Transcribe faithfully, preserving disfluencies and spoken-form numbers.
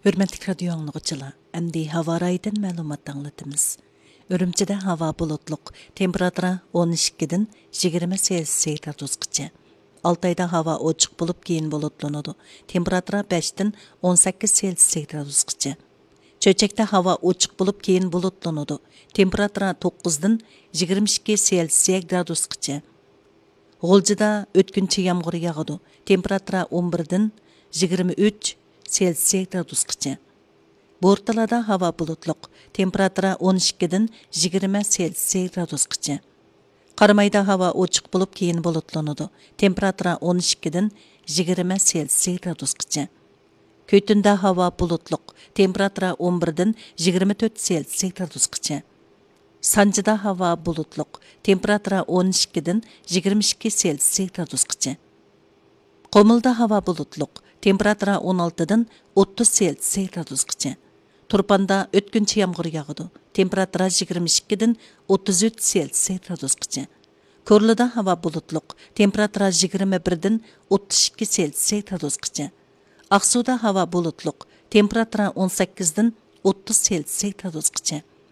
ھۆرمەتلىك رادىيو ئاڭلىغۇچىلار، ئەمدى ھاۋا رايىدىن مەلۇمات ئاڭلىتىمىز. ئۈرۈمچىدە ھاۋا بۇلۇتلۇق، تېمپېراتۇرا ئون ئىككىدىن يىگىرمە سېلسىيە گرادۇسقىچە. ئالتايدا ھاۋا ئوچۇق بولۇپ، كېيىن بۇلۇتلىنىدۇ، تېمپېراتۇرا بەشتىن ئون سەككىز سېلسىيە گرادۇسقىچە. چۆچەكتە ھاۋا ئوچۇق بولۇپ، كېيىن بۇلۇتلىنىدۇ، تېمپېراتۇرا توققۇزدىن يىگىرمە ئىككى سېلسىيە گرادۇسقىچە. غۇلجىدا ئۆتكۈنچى يامغۇر ياغىدۇ، تېمپېراتۇرا ئون بىردىن يىگىرمە ئۈچ سېلسىيە گرادۇسقىچە. بورتالادا ھاۋا بۇلۇتلۇق، تېمپېراتۇرا ئون ئىككىدىن يىگىرمە سېلسىيە گرادۇسقىچە. قارامايدا ھاۋا ئوچۇق بولۇپ، كېيىن بۇلۇتلىنىدۇ، تېمپېراتۇرا ئون ئىككىدىن يىگىرمە سېلسىيە گرادۇسقىچە. كۆتۈندە ھاۋا بۇلۇتلۇق، تېمپېراتۇرا ئون بىردىن يىگىرمە تۆت سېلسىيە گرادۇسقىچە. سانجىدا ھاۋا بۇلۇتلۇق، تېمپېراتۇرا ئون ئىككىدىن يىگىرمە ئىككى سېلسىيە گرادۇسقىچە. قۇمۇلدا ھاۋا بۇلۇتلۇق، تېمپېراتۇرا ئون ئالتىدىن ئوتتۇز سېلسىيە گرادۇسقىچە. تۇرپاندا ئۆتكۈنچى يامغۇر ياغىدۇ، تېمپېراتۇرا يىگىرمە ئىككىدىن ئوتتۇز ئۈچ سېلسىيە گرادۇسقىچە. كورلىدا ھاۋا بۇلۇتلۇق، تېمپېراتۇرا يىگىرمە بىردىن ئوتتۇز ئىككى سېلسىيە گرادۇسقىچە. ئاقسۇدا ھاۋا بۇلۇتلۇق، تېمپېراتۇرا ئون سەككىزدىن ئوتتۇز سېلسىيە گرادۇسقىچە.